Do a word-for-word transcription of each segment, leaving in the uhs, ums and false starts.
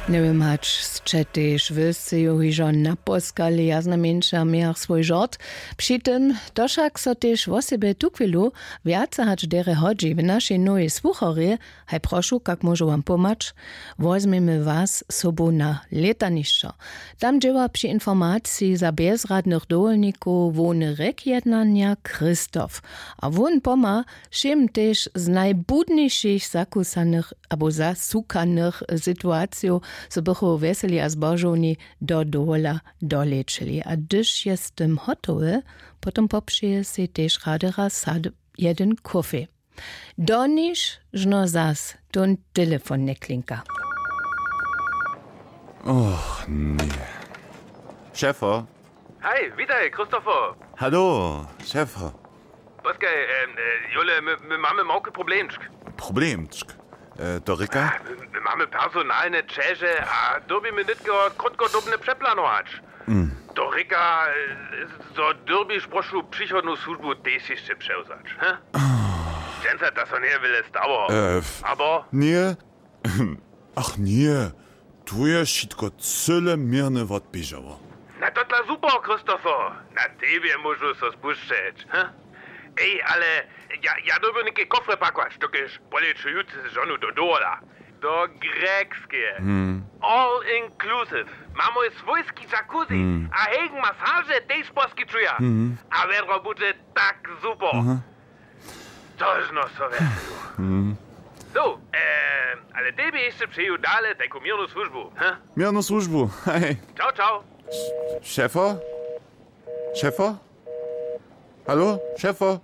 Njewěm hač sće tež wy sceju hižo naposkali, ja znajmjeńša mějach swój žort. Při tym to wšak so tež wosebje tuchwilu wjace hač derje hodźi w našej nowej słucharjej. Haj prošu, kak móžu wam pomhać? Wozmjemy was sobu na lětanišćo. Tam dźěła při informaciji za bjezradnych dowolnikow hłowny rjekjednanja Christoph. A wón pomha wšěm tež z najbudnišich zakusanych abo zasukanych situacijow, zo bychu wjeseli a zbožowni do dowola dolečili. A hdyž je z tym hotowy, potom popřeje sej tež rady raz sad jedyn kofej. Doniž žno zas tón telefon njeklinka. Och, ně. Šefo. Haj, witaj, Christopher. Halo, šefo. Poskaj, em, e, Jule, my, my mamy małki problemčk. Problemčk? E, to rěka? A, my, my mamy personalne ćeže a dyrbimy nětko krótkodobne přeplanować. To rěka, e, zo dyrbiš prošu přichodnu słužbu tež hišće přewzać, he? Dźensa to so njeje wjele stało. E, f- Abo? Ně. Ach ně, tu je wšitko cyle měrnje wotběžało. Na to dla super, Christopher. Na tebje móžu so spušćeć, he? Ej, ale ja, ja dyrbju něke kofry pakować, dokelž poleću jutře z žonu do dowola. Do Grekskeje. All inclusive. Mamy swójski jacuzzi. A hegen masaže tež poskićuja. A wjedro budźe tak super. Tožno so wjeselu. So, e, ale tebje hišće přeju dale tajku měrnu słužbu, he? Měrnu słužbu, hej. Čau, čau. Šefo? Šefo? Halo, šefo?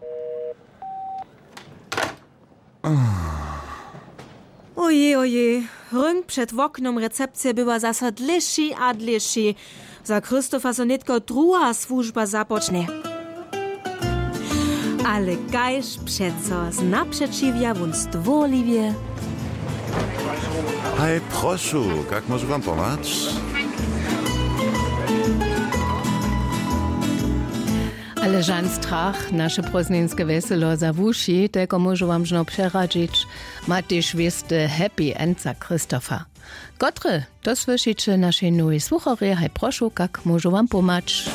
Ojej, ojej, rynk před woknom recepcije bywa zaso dlěši a dlěši. Za Christopha so nětko druha słužba započnje. Ale kaž přeco, znapřećiwja wón stwórliwje. Haj, prošu, kak móžu wam pomhać? Ale žan strach, naše prózdninske wjeselo za wuši, telko móžu wam žno přeradźić, ma tež wěsty happy end za Christopha. Kotry to słyšiće w našej nowej słucharjej, haj prošu, kak móžu wam pomhać?